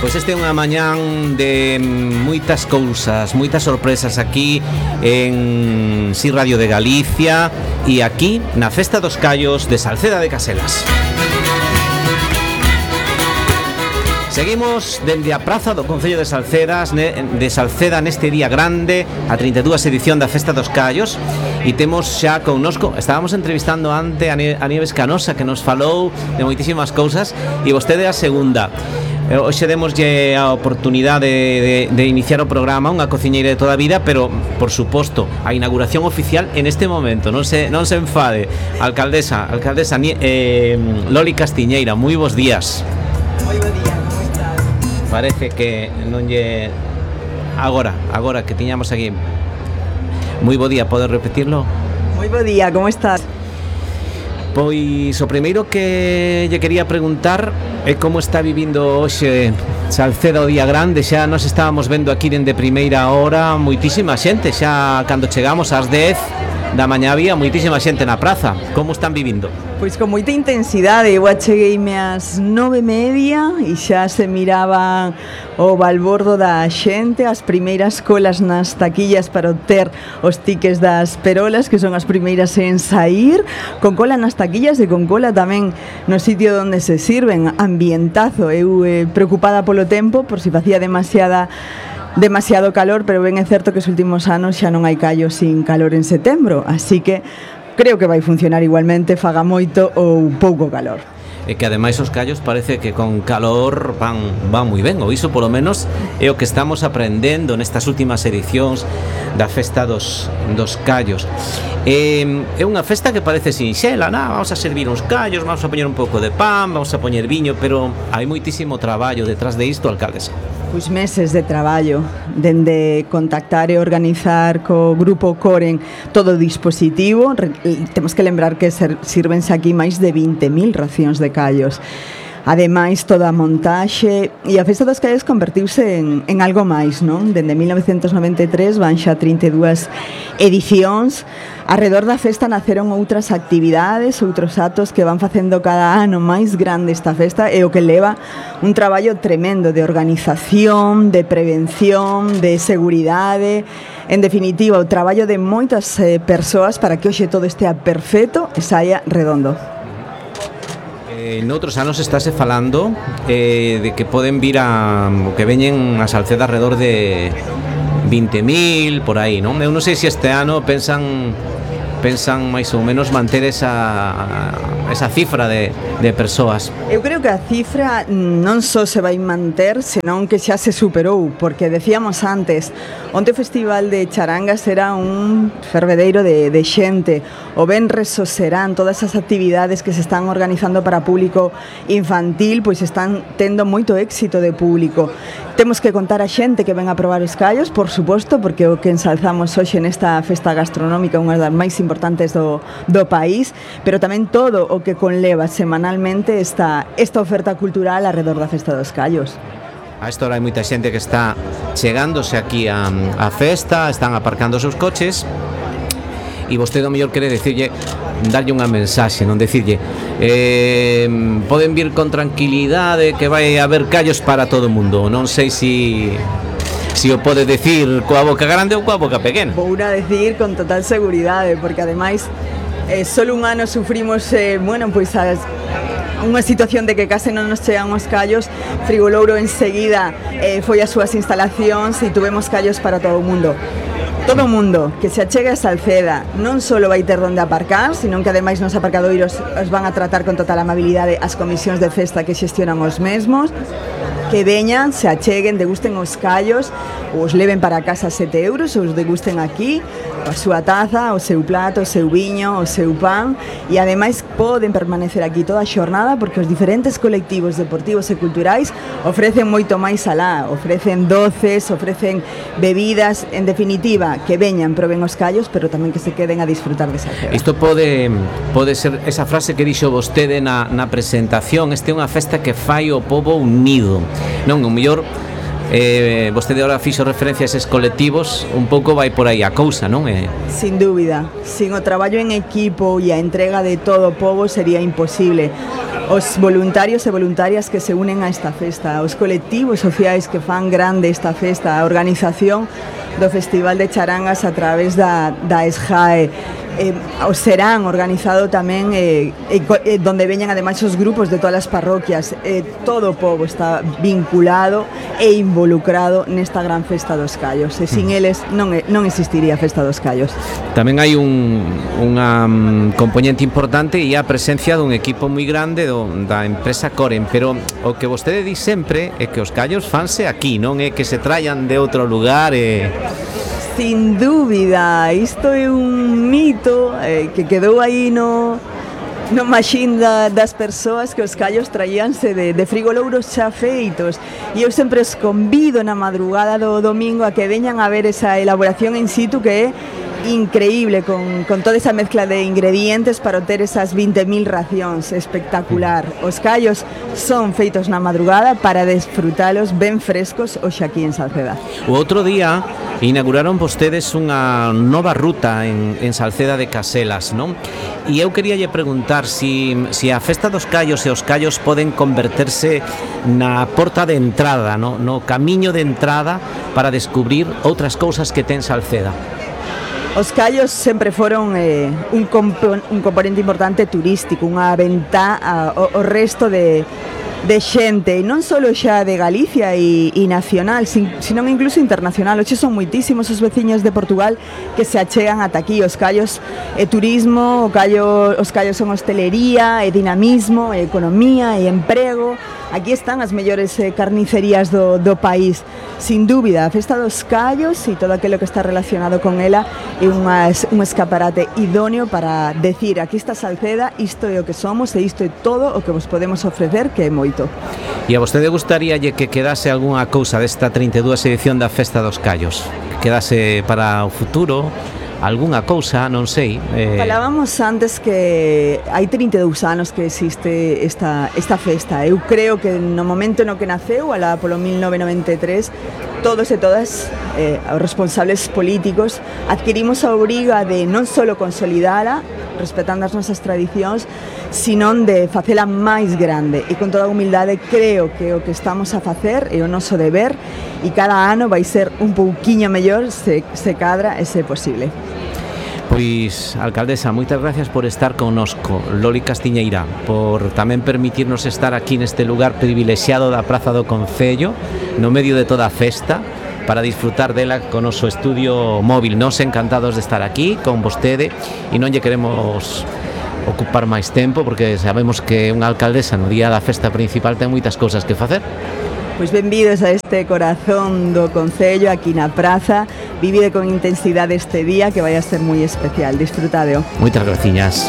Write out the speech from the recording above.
Pois este é unha mañán de moitas cousas, moitas sorpresas aquí en Si Radio de Galicia e aquí na Festa dos Callos de Salceda de Caselas. Seguimos dende a praza do Concello de Salceda neste día grande, a 32 edición da Festa dos Callos, e temos xa connosco, estábamos entrevistando ante a Nieves Canosa, que nos falou de moitísimas cousas, e vostede a segunda. Hoxe demoslle a oportunidade de iniciar o programa, unha cociñeira de toda a vida, pero, por suposto, a inauguración oficial en este momento, non se enfade. Alcaldesa Loli Castiñeira, moi bons días. Moi bo día, como estás? Parece que non lle... Agora que tiñamos aquí. Moi bo día, podes repetirlo? Moi bo día, como estás? Pois o primeiro que lle quería preguntar é como está vivindo hoxe Salceda o día grande. Xa nos estábamos vendo aquí dende primeira hora, moitísima xente, xa cando chegamos ás 10 da mañá había moitísima xente na praza. Como están vivindo? Pois con moita intensidade. Eu achegueime ás 9:30 e xa se miraba o balbordo da xente, as primeiras colas nas taquillas para obter os tickets das perolas, que son as primeiras en saír, con cola nas taquillas e con cola tamén no sitio onde se sirven. Ambientazo. Eu preocupada polo tempo, por si facía demasiado calor, pero ben é certo que os últimos anos xa non hai callos sin calor en setembro, así que creo que vai funcionar igualmente, faga moito ou pouco calor. E que ademais os callos parece que con calor van moi ben, ou iso polo menos é o que estamos aprendendo nestas últimas edicións da Festa dos Callos. É unha festa que parece sinxela, vamos a servir uns callos, vamos a poñer un pouco de pan, vamos a poñer viño, pero hai moitísimo traballo detrás de isto, alcaldesa. Pois meses de traballo, dende contactar e organizar co grupo Coren todo o dispositivo. Temos que lembrar que sírvense aquí máis de 20.000 racións de callos. Ademais, toda a montaxe e a Festa dos Callos convertiuse en algo máis, non? Dende 1993 van xa 32 edicións. Arredor da festa naceron outras actividades, outros actos que van facendo cada ano máis grande esta festa, e o que leva un traballo tremendo de organización, de prevención, de seguridade. En definitiva, o traballo de moitas persoas para que hoxe todo estea perfecto e saia redondo. Noutros anos estáse falando de que poden vir que veñen a Salceda alrededor de 20.000 por aí, non? Eu non sei se este ano pensan máis ou menos manter esa cifra de persoas. Eu creo que a cifra non só se vai manter, senón que xa se superou, porque decíamos antes, onte o Festival de Charangas era un fervedeiro de xente. O venres serán todas as actividades que se están organizando para público infantil, pois están tendo moito éxito de público. Temos que contar a xente que ven a probar os callos, por suposto, porque o que ensalzamos hoxe nesta festa gastronómica, unha das máis importantes do país, pero tamén todo o que conleva semanalmente esta oferta cultural alrededor da Festa dos Callos. A esta hora hai moita xente que está chegándose aquí a festa, están aparcando os seus coches, e vostede o mellor quere darlle unha mensaxe, non decirlle poden vir con tranquilidade que vai haber callos para todo o mundo. Non sei se o pode decir coa boca grande ou coa boca pequena. Vou a decir con total seguridade, porque ademais solo un ano sufrimos unha situación de que case non nos chegan os callos. Frigolouro enseguida foi as súas instalacións e tuvemos callos para todo o mundo. Todo o mundo que se achegue a Salceda non só vai ter onde aparcar, senón que ademais nos aparcadoiros os van a tratar con total amabilidade as comisións de festa que xestionan os mesmos. Que veñan, se acheguen, degusten os callos, ou os leven para casa 7 euros, ou os degusten aquí, a súa taza, o seu plato, o seu viño, o seu pan, e ademais poden permanecer aquí toda a xornada, porque os diferentes colectivos deportivos e culturais ofrecen moito máis alá, ofrecen doces, ofrecen bebidas, en definitiva, que veñan, proben os callos, pero tamén que se queden a disfrutar desa festa. Isto pode ser esa frase que dixo vostede na presentación, este é unha festa que fai o pobo unido. Non, o mellor vostede ahora fixo referencia a eses colectivos, un pouco vai por aí a cousa, non? Sin dúbida, sin o traballo en equipo e a entrega de todo o pobo sería imposible. os voluntarios e voluntarias que se unen a esta festa, os colectivos sociais que fan grande esta festa, a organización do Festival de Charangas a través da SGAE. O serán organizado tamén donde veñan ademais os grupos de todas as parroquias, todo o povo está vinculado e involucrado nesta gran festa dos Callos, e sin eles non existiría a festa dos Callos. Tamén hai unha componente importante e a presencia dun equipo moi grande da empresa Coren, pero o que vostede di sempre é que os Callos fanse aquí, non é que se traian de outro lugar. Sin dúbida, isto é un mito que quedou aí no machín das persoas, que os callos traíanse de frigolouros xa feitos, e eu sempre os convido na madrugada do domingo a que veñan a ver esa elaboración in situ, que é increíble, con toda esa mezcla de ingredientes para obter esas 20.000 racións, espectacular. Os callos son feitos na madrugada para desfrutalos ben frescos hoxe aquí en Salceda. O outro día inauguraron vostedes unha nova ruta en Salceda de Caselas, non? E eu queríalle preguntar si a festa dos callos e os callos poden converterse na porta de entrada, no camiño de entrada para descubrir outras cousas que ten Salceda. Os callos sempre foron un componente importante turístico, unha ventá ao resto de xente, e non só xa de Galicia e nacional, sino incluso internacional. Hoxe son moitísimos os veciños de Portugal que se achegan ata aquí. Os callos é turismo, os callos son hostelería, é dinamismo, é economía, é emprego. Aquí están as mellores carnicerías do país. Sin dúbida, a festa dos callos e todo aquilo que está relacionado con ela é un escaparate idóneo para decir: aquí está Salceda, isto é o que somos e isto é todo o que vos podemos ofrecer, que é moito. E a vostede gustaríalle que quedase algunha cousa desta 32 edición da festa dos callos? Que quedase para o futuro? Algunha cousa, non sei. Falábamos antes que hai 32 anos que existe esta festa. Eu creo que no momento no que naceu, alá polo 1993, todos e todas os responsables políticos adquirimos a obriga de non só consolidala, respetando as nosas tradicións, sino de facela máis grande. E con toda a humildade creo que o que estamos a facer é o noso deber, e cada ano vai ser un pouquiño mellor se cadra e se posible. Pois, alcaldesa, moitas gracias por estar connosco, Loli Castiñeira, por tamén permitirnos estar aquí neste lugar privilexiado da Praza do Concello, no medio de toda a festa, para disfrutar dela con o noso estudio móvil. Nos encantados de estar aquí con vostede, e non lle queremos ocupar máis tempo, porque sabemos que unha alcaldesa no día da festa principal ten moitas cousas que facer. Pois benvidos a este corazón do Concello, aquí na praza. Vivide con intensidade este día, que vai a ser moi especial. Disfrutadeo. Moitas graciñas.